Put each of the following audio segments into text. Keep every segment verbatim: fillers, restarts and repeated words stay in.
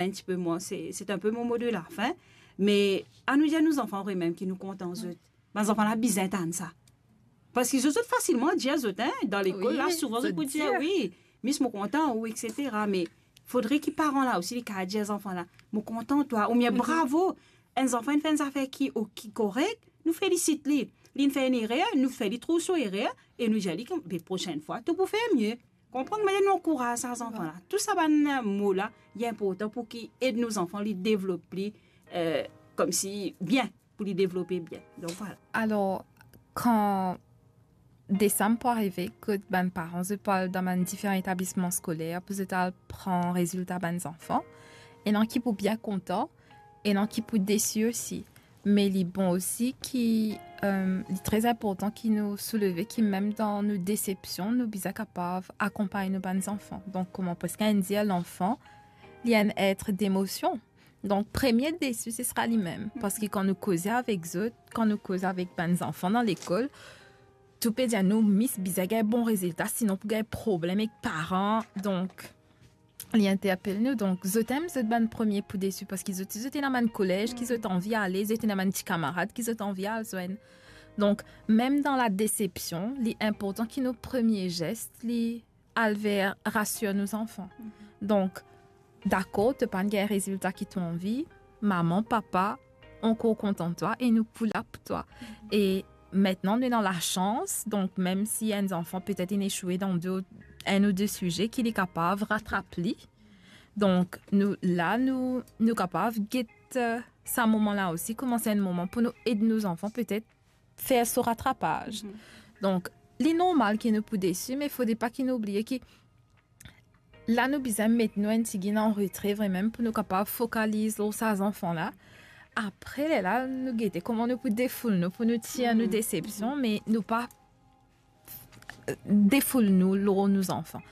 un petit peu moins, c'est, c'est un peu mon mot de la fin. Me anou dir nou zanfan vremem ki nou kontan zot. Bann zanfan la bizin tann sa. Parski zot, zot fasilman dir zot, hein, dan lekol la, wi, souvan zot pou dir, wi, mis, mo kontan ou, et cetera. Me fodre ki paran la osi, li kapav dir zanfan la, mo kontan twa, oubien bravo. Enn zanfan inn fer enn zafer ki, o, ki korek, nou felisit li. Linn fer enn erer, nou fer li trouv so erer, e nou dir li, be, prosenn fwa, to pou fer mie. Konpran, me nou ankouraz sa zanfan la. Tou sa bann mo la, li inportan pou ki ed nou zanfan, li devlop li, euh, koumsi bien, pou li devlope bien. Donk, vwala. Alor, kan desam pou arive, kot bann paran, zot pou al dan bann diferan etablisman skoler, pou zot al pran rezilta bann zanfan, ena ki pou bien kontan, ena ki pou desi osi. Me li bon osi ki, euh, li tre inportan ki nou souleve ki mem dan nou desepsion, nou bizin kapav akonpagn nou bann zanfan. Donk, kouma preske inn dir, lanfan, li enn et demosion. Donk, premie desi, se sera limem. Parski kan nou koze avek zot, kan nou koz avek bann zanfan dan lekol, tou pe dir nou, mis, bizin gagn bon rezilta, sinon pou gagn problem ek paran. Donk, li interpel nou. Donk, zot enn zot bann premie pou desi, parski zot, zot ena bann kolez ki zot anvi ale, zot ena bann ti kamarad ki zot anvi al zwenn. Donk, mem dan ladesepsion, li inportan ki nou premie zes, li al ver rasir nou zanfan. Donk, dakor, to pa'nn gagn rezilta ki to anvi, mama, papa, ankor kontan twa e nou pou la pou twa. E mintnan, nou ena lasans, donk mem si enn zanfan petet inn esoue dan de, enn ou de size, ki li kapav ratrap li. Donk, nou, la, nou, nou kapav get, euh, sa moman la osi, kouma se enn moman pou nou ed nou zanfan petet fer so ratrapaz. Donk, li normal ki nou pou desi, me fode pa ki nou oubliye ki la nou bizin met nou enn tigit an retre vremem pou nou kapav fokaliz lor sa zanfan la. Apre, lerla, nou gete kouma nou pou defoul nou, pou nou tir nou desepsion, me nou pa defoul nou lor nou zanfan.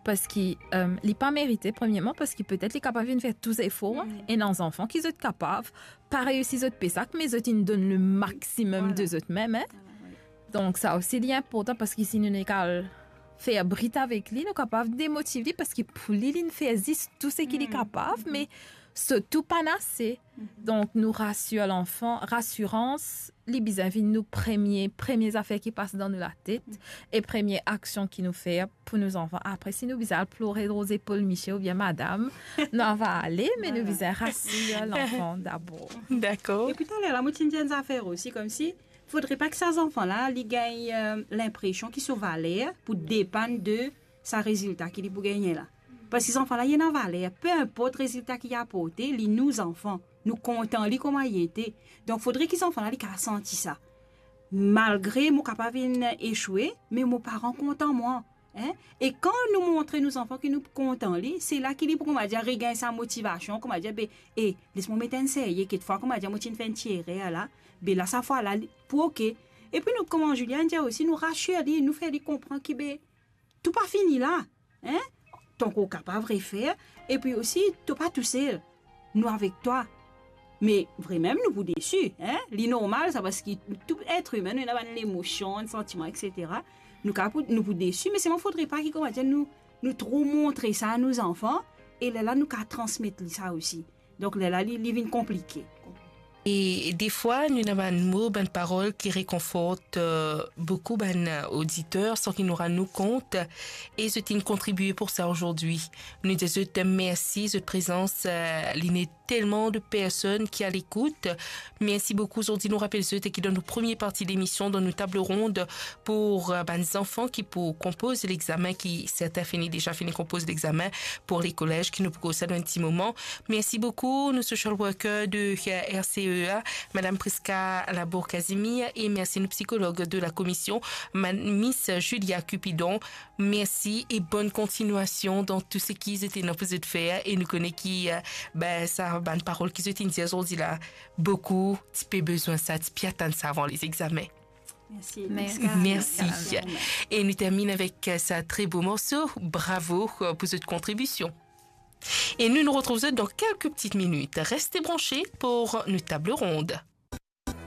Parski, euh, li pa merite, premieman, parski petet li kapav inn fer tou zefor, ena zanfan ki zot kapav pa reisi zot PSAC, me zot inn donn le maximum de zot mem, hein. Donk, sa osi, li inportan, parski si nou nek al fer brit avek li, nou kapav demotiv li, parski pou li, linn fer zis tou seki li kapav, me so tou pa'nn ase. Donk, nou rasir lanfan, rasirans, li bizin vinn nou premie, premie zafer ki pas dan nou latet, e premie aksion ki nou fer pou nou zanfan. Apre, si nou bizin al plore lor zepol misie oubien madam, nou ava ale, me nou bizin rasir lanfan dabor. Dakor. Epi taler la, mo ti dir enn zafer osi, koumsi, fodre pa ki sa zanfan la, li gagn, euh, linpresion ki so valer pou depann de sa rezilta ki li pou gagne la. Parski zanfan la, li ena valer, pe inport rezilta ki li aporte, li nou zanfan, nou kontan li kouma li ete. Donk, fodre ki zanfan la, li kapav santi sa. Malgre mo kapav inn esoue, me mo paran kontan mwa, hein? E kan nou montre nou zanfan ki nou kontan li, se la ki li pou, kouma dir, regagn sa motivasion, kouma dir, be, e, les mwa met enn serye, kekfwa, kouma dir, mo ti'nn fer enn ti erer la, be la, sa fwa la, li pou oke. Epi nou, kouma Juliane dir osi, nou rasir li, nou fer li konpran ki, be, tou pa fini la, hein? To ankor kapav refer, epi osi, to pa tousel, nou avek twa. Me vremem, nou pou desi, hein? Li normal sa, parski tou et imin, nou ena bann lemosion, santiman, et cetera. Nou kapav pou, nou pou desi, me selman fodre pa ki, kouma dir, nou, nou tro montre sa a nou zanfan, e lerla nou kapav transmet li sa osi. Donk, lerla li, li vinn konplike. E defwa, nou ena bann mo, bann parol ki rekonfort, euh, boukou bann oditer, san ki nou rann nou kont, e zot inn kontribie pou sa azordi. Nou dir zot mersi, zot prezans, euh, li ena telman de personn ki a lekout. Mersi boukou. Zordi, nou rapel zot ki dan nou premie parti lemision, dan nou tab rond pou, euh, bann zanfan ki pou konpoz lexame, ki sertin fini, deza fini konpoz lexame pou lekolez, ki nou pou koz sa dan enn ti moman. Mersi boukou, nou social worker de, euh, R C E A, Madam Prisca Labour-Casimir, e mersi nou psikolog de la komision, Ma-, Miss Julia Cupidon. Mersi e bonn kontinuasion dan tou seki zot ena pou zot fer. E nou kone ki, euh, be, sa bann parol ki zot inn dir zordi la, boukou ti pe bizin sa, ti pe atann sa avan lezexame. Mersi. Mersi. Mersi. E nou terminn avek, euh, sa tre bo morso. Bravo, euh, pou zot kontribision. E nou, nou retrouv zot dan kelke pti minit. Reste branche pou nou tab rond.